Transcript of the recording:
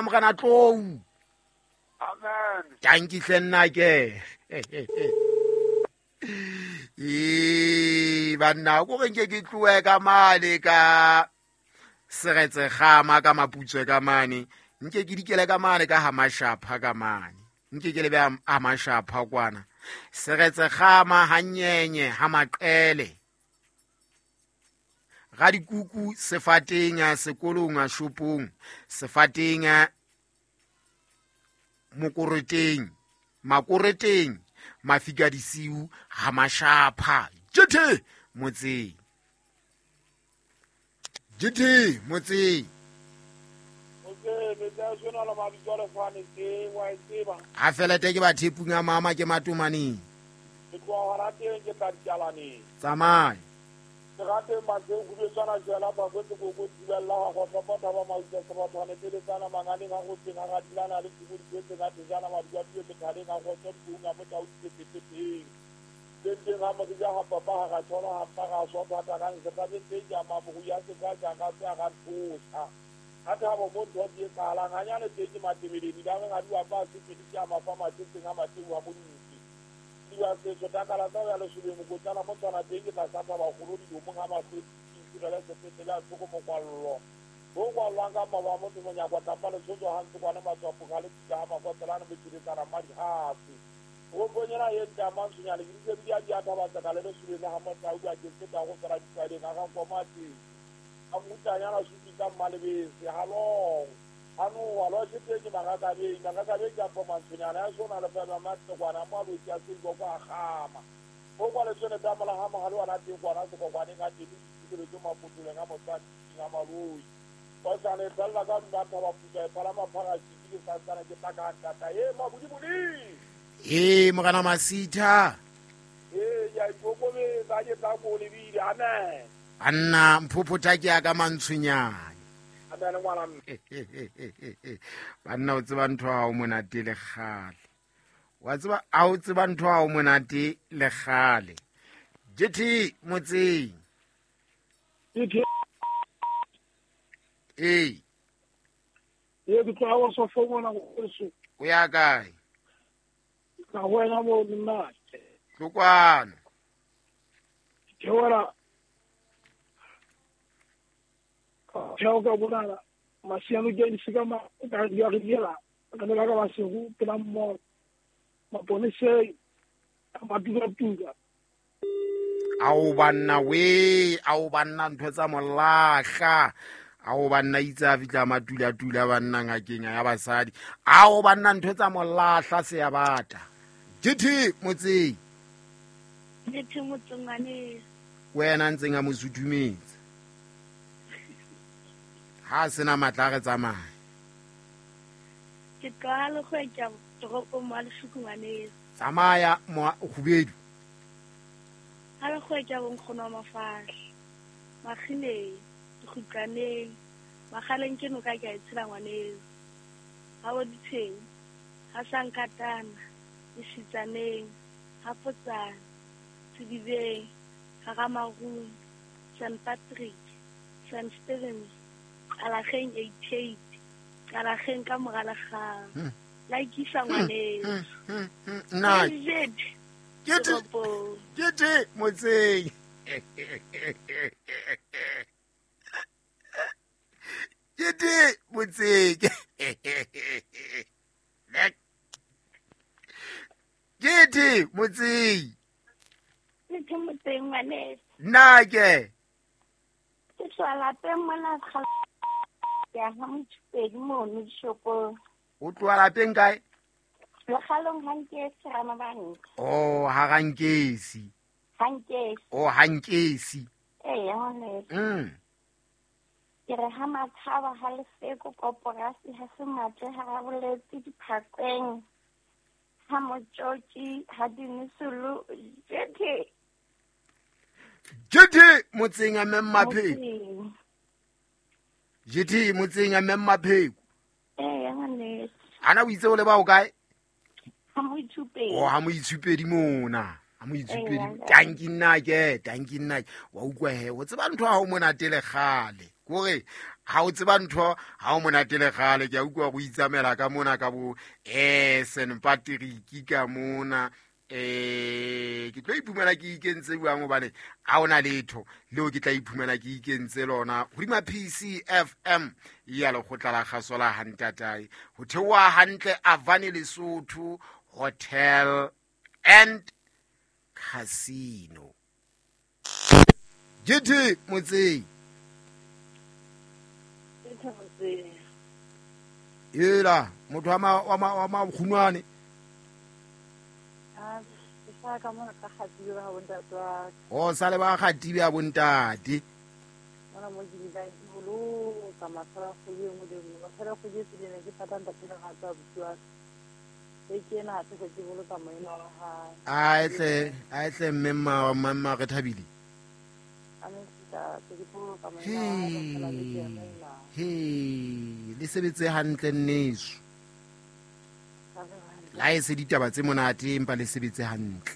Morena Tlou. Amen. Tanki hle nna ke. Ee, banna ko re nke ke tloe ka mane ka seretsegama ka maputswe ka mane, nke ke dikele ka mane ka ha mashapha ka mane, nke ke lebe ha mashapha kwana seretsegama hanyenye ha maqele ga dikuku sefateng sekolong shopong sefateng mokoreteng makoreteng mafika disiu ha mashapha jethe motseng jethe motseng a felete ke bathepung a mama ke matomaneng tsamaya. Serateng matseng khubetswana jwela bakwetse koko thibella ga gotlhopa thaba mautsa sebathwane teletsana manganeng a go tseng a ga dilana le tshimo dipetseng a thejana maduaduwe methaleng a kgotsa dikoung a motau dipepetepeng tenteng ga morija ga papa ga ga tshola ga mpa ga swa thata ga nsetabeng teng ja mabogo ya seka jaaka tse a ga nthosa ga thabo mo ntho di e tsalang ganyane teng ke matebeledi ba reng ga di wapa a sepedi ke a mafa matetseng a mateu a modupi diba setso takala tsa ya lesobeng mokotsana mo tswana teng ke tlasa thaba kgolo dilomong ga mahlwetsi tirele sepetlele a thoko mokwallo bo kwallwang ka maba a motho monyakwa tlapa lesotso ga ntsekwane matswapo ga le pika ga makotselane motšheletsana mmadihase toropong ena ye ntle a mantshonyane ke ditse di a di a thaba tseka le lesobeng le ga motau a ke feta go fela ditlwaeleng a ga nkoma teng a mmutanyana supi tsa mmalebese halong ano alo se teng magakabeng magakabeng ke apo mantshonyana ya sona le fela matsekwana mo a lotsi a seibo kwa gama go kwa letsone tsa mola ga mogale wa teng kwana sekokwaneng a teng ditshireletso mapotoleng a motswadi a maloi ba sane fela ka nna thaba puta e phala maphara ke sa tsana ke tla ka ntata e mabudibudi ee morena Masitha ee ya ikokobetsa ke tla ko lebile amen anna mphophotha ke ya ka mantshonyane banna o tseba ntho ha o monate le kgale wa tseba a o tseba ntho ha o monate le kgale jethe motseng ee ye ke tloga wa sofo mona go o ya kae ka go wena mo nna tlokwano ke wela theo ka bonala masiano ke di seka ma ka di re diela ka ne ka ba sego pela mo maponese a tuka ao banna we ao banna ntho tsa molahla ao banna itse a fitla matula-tula banna ngakeng ya basadi ao banna ntho tsa molahla se ya bata jethe motseng jethe motseng ngwane wena ntseng a mo suthumetse ha sena matla re tsamaya ke tloga le go etsa toropong mo Lešuku ngwane tsamaya mo khubedu ha le go etsa bonkgono wa mafahla makgineng dikgutlaneng magaleng ke noka ke a e tshela ngwaneso ha bo ditsheng ha sankatana lesitsaneng ha potsane sedibeng ha ramarung St Patrick St Stephen Qalageng 88 Qalageng ka moralagang la ikisa ngwaneso nna ke te motseng ke te motseng ke te motseng ke te motseng ngwaneso nna ke ke tswa lapeng mona ya ha motshupedi mono dishopong o tloha lapeng kae legalong hankesi ramabanka oh ha rankesi hankesi oh hankesi ee ngwaneso ke re ha matshaba ha lefeko koporasi ha se matle ha raboletse diphakweng ha motjotji ha dinisulu jethe jethe motseng a memmapheko jethe motseng a memmapheko ee ngwaneso ana o itse o le ba o kae ha moitshupedi oh ha moitshupedi mona ha moitshupedi tanki nna ke tanki nna wa utlwa he o tseba ntho ha o monate le kgale kore Ha o tseba ntho ha o monate le kgale, ke a utlwa go itsamela ka mona ka bo St Patrick ka mona. Ke tlo iphumana ke ikentse jwang, hobane ha ona letho leo ke tla iphumana ke ikentse lona hodima PCFM ya lekgotla la kgaso la hantatae, ho theoha hantle Avani Lesotho Hotel and Casino. GT Motseng. Ela motho wa makgunwane. O sale ba kgatibe a bontate. Aetle mme mma re thabile. He le sebetse hantle nneso. La e se ditaba tse monate empa le sebetse hantle.